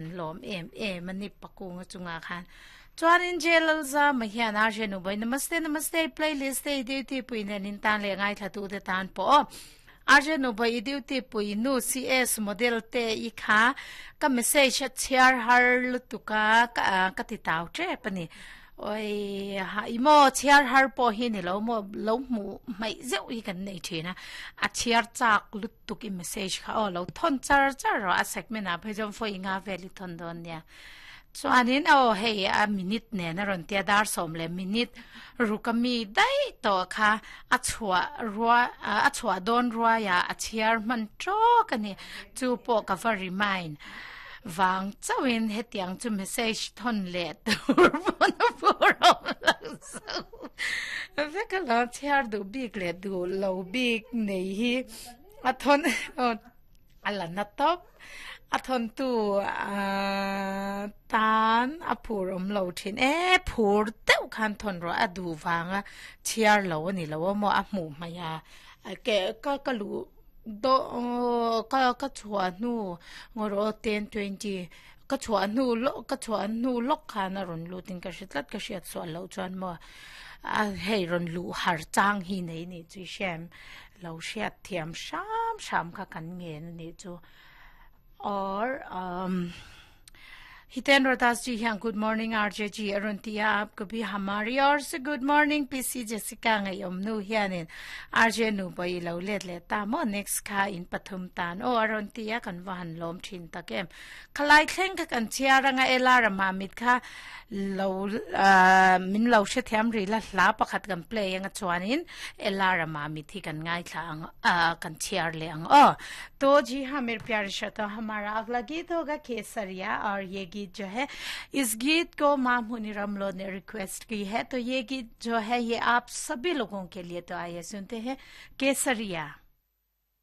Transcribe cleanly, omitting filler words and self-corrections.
Lawm em em a ni Pakunga chungah khan. Chuanin J Lalzama hian Arjun Nubai Namaste Namaste playlist te i duty pui nen in tan leh ngaithla te tan pawh aw. Arjun Nubai i duty pui nu CS model te i kha ka message a chhiar har lutuk a ka ka ti tau tep a ni. Oi ha i maw chhiar har pawh hi ni lo maw lo hmuh hmaih zeuh hi kan nei thin a a chhiar chak lutuk tuk i message kha aw lo thawn char char rawh a segment ah phei chuan vawi nga vel i thawn dawn nia chuanin aw hei a minute nen a rawn tia dar sawm leh minute ruk a mi daih tawh kha a chhuah rua a chhuah dawn ruai ah a chhiar hman tawk a ni chu pawh ka va remind vang chauhin hetiang chu message thawn leh tur pawn a phur awm lo zo vek a lo chhiar duh bik leh duh lo bik nei hi a thawn a la na tawp a thawn tu tan a phur awm lo thin e phur deuh khan thawn rawh a duh vanga chhiar lo a ni lo a maw a hmuh hmaih a ke ka ka luh daw ka ka chhuah hnu ngaw rawh ten twenty ka chhuah hnu lawk ka chhuah hnu lawk khan a rawn lut in ka hre tlat ka hriat sual loh chuan maw a hei rawn luh har chang hi nei nih chu i hriat lo hriat thiam hram hram kha kan ngen a nih chu or umm Hitendra Das ji hian good morning RJ ji a rawn ti a aapko bhi hamari aur se good morning PC Jessica ngaihawm nu hianin RJ nu pawh i lo let leh ta maw next kha in pathum tan aw a rawn ti a kan va han lawm thin tak em. Khalai thleng kha kan chhiar anga Ella ramah mit kha lo min lo hrethiam rih la hla pakhat kan play anga chuanin Ella ramah mit hi kan ngaithla ang kan chhiar leh ang aw. To ji ha mere pyare shrato hamara agla geet hoga Kesariya aur ye geet jo hai is geet ko maa Muni Ramlo ne request ki hai to ye geet jo hai ye aap sabhi logon ke liye to aaiye sunte hain Kesariya.